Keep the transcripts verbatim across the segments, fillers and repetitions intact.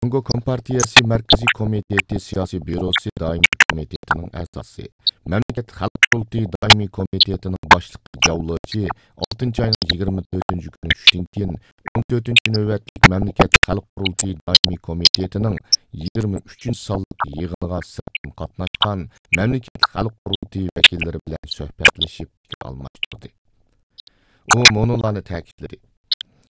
جۇڭگو كومپارتىيەسى مەركىزىي كومىتېتى سىياسىي بيۇروسى دائىمىي كومىتېتىنىڭ ئەزاسى، مەملىكەت خەلق قۇرۇلتىيى دائىمىي كومىتېتىنىڭ باشلىقى جاۋ لېچى ئالتىنچى ئاينىڭ يىگىرمە تۆتىنچى كۈنى چۈشتىن كېيىن، ئون تۆتىنچى نۆۋەتلىك مەملىكەت خەلق قۇرۇلتىيى دائىمىي كومىتېتىنىڭ يىگىرمە ئۈچىنچى سانلىق يىغىنىغا سىرتتىن قاتناشقان مەملىكەت خەلق قۇرۇلتىيى ۋەكىللىرى بىلەن سۆھبەتلىشىپ پىكىر ئالماشتۇردى. ئۇ مۇنۇلارنى تەكىتلىدى: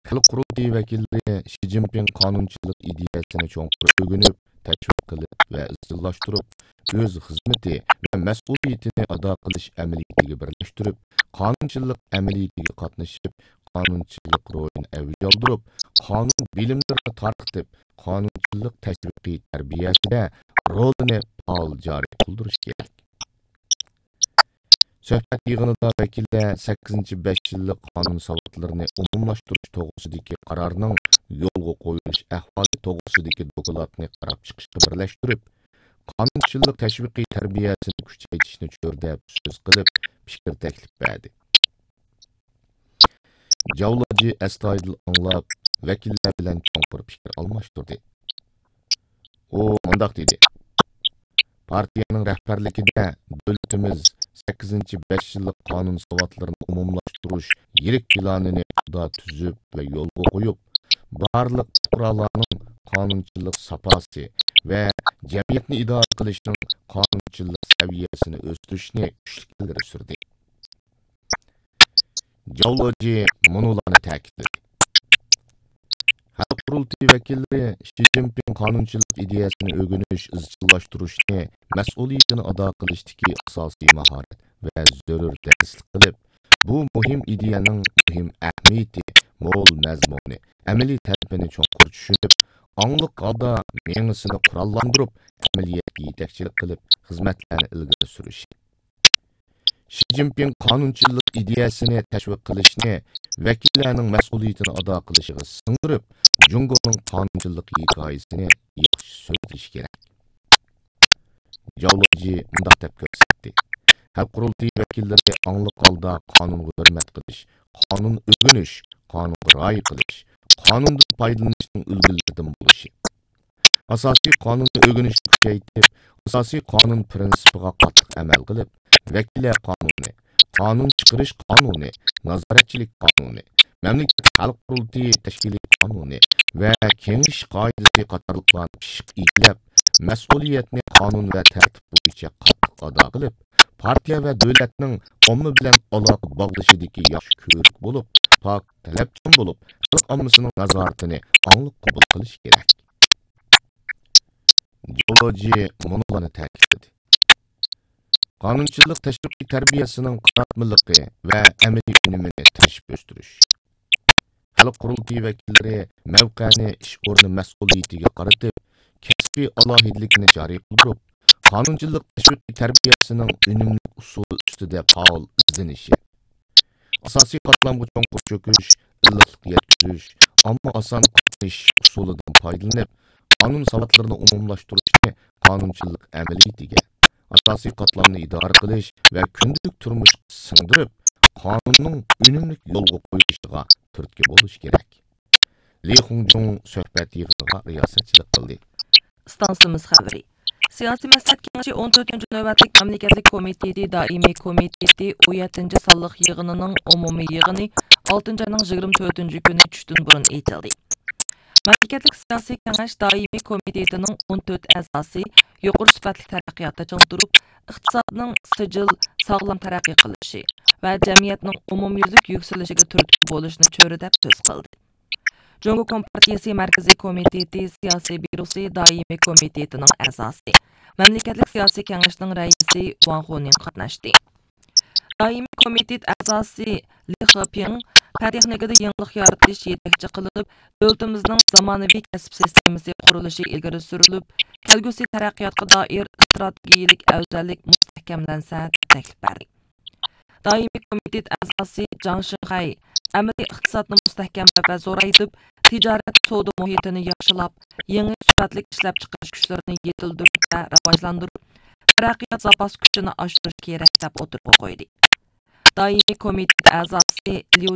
خەلق قۇرۇلتىيى ۋەكىللىرى شى جىنپىڭ قانۇنچىلىق ئىدىيەسىنى چوڭقۇر ئۆگىنىپ، تەشۋىق قىلىپ ۋە ئىزچىللاشتۇرۇپ، ئۆز خىزمىتى ۋە مەسئۇلىيىتىنى ئادا قىلىش ئەمەلىيىتىگە بىرلەشتۈرۈپ، قانۇنچىلىق ئەمەلىيىتىگە قاتنىشىپ، قانۇنچىلىق روھىنى ئەۋج ئالدۇرۇپ، قانۇن بىلىملىرىنى تارقىتىپ، قانۇنچىلىق تەشۋىقىي تەربىيەسىدە رولىنى پائال جارى قىلدۇرۇشى كېرەك. سۆھبەت يىغىنىدا ۋەكىللەر سەككىزىنچى بەش يىللىق قانۇن ساۋاتلىرىنى ئومۇملاشتۇرۇش توغرىسىدىكى قارارنىڭ يولغا قويۇلۇش ئەھۋالى توغرىسىدىكى دوكلاتنى قاراپ چىقىشقا بىرلەشتۈرۈپ، قانۇنچىلىق تەشۋىقىي تەربىيەسىنى كۈچەيتىشنى چۆرىدەپ سۆز قىلىپ، پىكىر تەكلىپ بەردى. جاۋ لېچى ئەستايىدىل ئاڭلاپ، ۋەكىللەر بىلەن چوڭقۇر پىكىر ئالماشتۇردى. ئۇ مۇنداق دېدى: پارتىيەنىڭ رەھبەرلىكىدە دۆلىتىمىز سەككىزىنچى بەش يىللىق قانۇن ساۋاتلىرىنى ئومۇملاشتۇرۇش يىرىك پىلانىنى پۇختا تۈزۈپ ۋە يولغا قويۇپ، بارلىق پۇقرالارنىڭ قانۇنچىلىق ساپاسى ۋە جەمئىيەتنى ئىدارە قىلىشنىڭ قانۇنچىلىق سەۋىيەسىنى ئۆستۈرۈشنى كۈچلۈك ئىلگىرى سۈردى. جاۋ لېچى مۇنۇلارنى تەكىتلىدى: خەلق قۇرۇلتىيى ۋەكىللىرى شى جىنپىڭ قانۇنچىلىق ئىدىيەسىنى ئۆگىنىش، ئىزچىللاشتۇرۇشنى، مەسئۇلىيىتىنى ئادا قىلىشتىكى ئاساسىي ماھارەت ۋە زۆرۈر دەرسلىك قىلىپ، بۇ مۇھىم ئىدىيەنىڭ مۇھىم ئەھمىيىتى، مول مەزمۇنى، ئەمەلىي تەرىپىنى چوڭقۇر چۈشىنىپ، ئاڭلىق ھالدا مېڭىسىنى قوراللاندۇرۇپ، ئەمەلىيەتكە يېتەكچىلىك قىلىپ، خىزمەتلەرنى ئىلگىرى سۈرۈشى. شى جىنپىڭ قانۇنچىلىق ئىدىيەسىنى تەشۋىق قىلىشنى، ۋەكىللەرنىڭ مەسئۇلىيىتىنى ئادا قىلىشىغا سىڭدۈرۈپ، جۇڭگونىڭ قانۇنچىلىق ھېكايىسىنى ياخشى سۆزلىشى كېرەك. جاۋ لېچى مۇنداق دەپ كۆرسەتتى: خەلق قۇرۇلتىيى ۋەكىللىرى ئاڭلىق ھالدا قانۇنغا ھۆرمەت قىلىش، قانۇن ئۆگىنىش، قانۇنغا رىئايە قىلىش، قانۇندىن پايدىلىنىشنىڭ ئۈلگىلىرىدىن بولۇشى. ئاساسىي قانۇننى ئۆگىنىشنى كۈچەيتىپ، ئاساسىي قانۇن پىرىنسىپىغا قاتتىق ئەمەل قىلىپ، ۋەكىللەر قانۇنى، قانۇن چىقىرىش قانۇنى، نازارەتچىلىك قانۇنى، مەملىكەت خەلق قۇرۇلتىيى تەشكىلىي قانۇنى ۋە كېڭىشىش قائىدىسى قاتارلىقلارنى پىششىق ئىگىلەپ، مەسئۇلىيەتنى قانۇن ۋە تەرتىپ بويىچە قاتتىق ئادا قىلىپ، پارتىيە ۋە دۆلەتنىڭ ئامما بىلەن ئالاقە باغلىشىدىكى ياخشى كۆۋرۈك بولۇپ، پاك، تەلەپچان بولۇپ، خەلق ئاممىسىنىڭ نازارىتىنى ئاڭلىق قوبۇل قىلىشى كېرەك. جاۋ لېچى مۇنۇلارنى تەكىتلىدى: قانۇنچىلىق تەشۋىقىي تەربىيەسىنىڭ قاراتمىلىقى ۋە ئەمەلىي ئۈنۈمىنى تىرىشىپ ئۆستۈرۈش. خەلق قۇرۇلتىيى ۋەكىللىرى مەۋقەنى ئىش ئورنى مەسئۇلىيىتىگە قارىتىپ، كەسپىي ئالاھىدىلىكىنى جارى قىلدۇرۇپ، قانۇنچىلىق تەشۋىقىي تەربىيەسىنىڭ ئۈنۈملۈك ئۇسۇلى ئۈستىدە پائال ئىزدىنىشى، ئاساسىي قاتلامغا چوڭقۇر چۆكۈش، ئىللىقلىق يەتكۈزۈش، ئامما ئاسان قاتنىشىش ئۇسۇلىدىن پايدىلىنىپ، قانۇن ساۋاتلىرىنى ئومۇملاشتۇرۇشنى قانۇنچىلىق ئەمەلىيىتىگە، ئاساسىي قاتلامنى ئىدارە قىلىش ۋە كۈندىلىك تۇرمۇشقا سىڭدۈرۈپ، قانۇننىڭ ئۈنۈملۈك يولغا قويۇلۇشىغا تۈرتكە بولۇش كېرەك. لى خۇڭجۇڭ سۆھبەت يىغىنىغا رىياسەتچىلىك قىلدى. ئىستانسىمىز خەۋىرى. سىياسىي مەسلىھەت كېڭىشى ئون تۆتىنچى نۆۋەتلىك مەملىكەتلىك كومىتېتى دائىمىي كومىتېتى ئون يەتتىنچى سانلىق يىغىنىنىڭ ئومۇمىي يىغىنى ئالتىنچى ئاينىڭ يىگىرمە تۆتىنچى كۈنى چۈشتىن بۇرۇن ئېچىلدى. مەملىكەتلىك سىياسىي كېڭەش دائىمىي كومىتېتىنىڭ ئون تۆت ئەزاسى يۇقىرى سۈپەتلىك تەرەققىياتتا چىڭ تۇرۇپ، ئىقتىسادنىڭ سىجىل، ساغلام تەرەققىي قىلىشى ۋە جەمئىيەتنىڭ ئومۇميۈزلۈك يۈكسىلىشىگە تۈرتكە بولۇشنى چۆرىدەپ سۆز قىلدى. جۇڭگو كومپارتىيىسى مەركىزىي كومىتېتى سىياسىي بيۇروسى دائىمىي كومىتېتىنىڭ ئەزاسى، مەملىكەتلىك سىياسىي كېڭەشنىڭ رەئىسى ۋاڭ خۇنىڭ قاتناشتى. دائىمىي كومىتېت ئەزاسى لى خېپىڭ پەن تېخنىكىدا يېڭىلىق يارىتىش يېتەكچى قىلىپ، دۆلىتىمىزنىڭ زامانىۋى كەسىپ سىستېمىسى قۇرۇلۇشى ئىلگىرى سۈرۈلۈپ، كەلگۈسى تەرەققىياتقا دائىر ئىستراتېگىيەلىك ئەۋزەللىك مۇستەھكەملەنسە، دەپ تەكلىپ بەردى. دائىمىي كومىتېت ئەزاسى جاڭ شىڭخەي ئەمەلىي ئىقتىسادنى مۇستەھكەملەپ ۋە زورايتىپ، تىجارەت، سودا مۇھىتىنى ياخشىلاپ، يېڭى سۈپەتلىك ئىشلەپچىقىرىش كۈچلىرىنى يېتىلدۈرۈپ ۋە راۋاجلاندۇرۇپ، تەرەققىيات زاپاس كۈچىنى ئاشۇرۇش كېرەك، دەپ ئوتتۇرىغا قويدى. دائىمىي كومىتېت ئەزاسى ليۇ